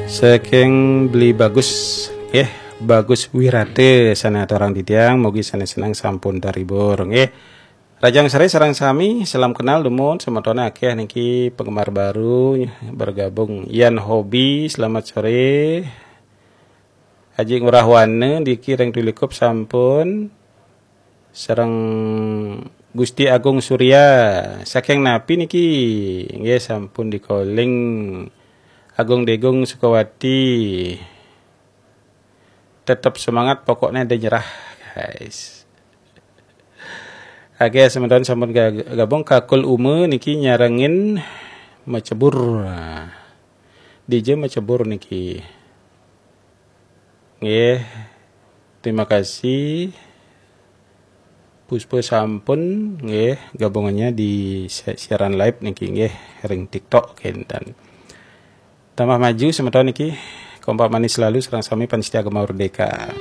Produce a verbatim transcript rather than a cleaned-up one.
Saking Beli Bagus, eh, Bagus Wirate sana aturang titiang, mugi sané seneng sampun terhibur, nggih. Rahajeng sore sareng sami, salam kenal dumun, semetone akeh niki penggemar baru bergabung. Yan Hobi, selamat sore. Aji Ngurah Wana niki ring Tulikup sampun. Sareng Gusti Agung Surya, saking napi niki? Nggih, sampun di-calling Agung Degung Sukawati. Tetep semangat, pokoknya ada nyerah, guys. Oke, semeton sampun ga-, gabung. Kakul Uma niki nyarengin Macebur. Dija Macebur niki? Nggih. Terima kasih. Puspa sampun nggih gabungannya di si-, siaran live niki nggih ring TikTok kenten. Tambah maju semeton niki, kompak manis selalu, sareng sami Pan Setia Gema Merdeka.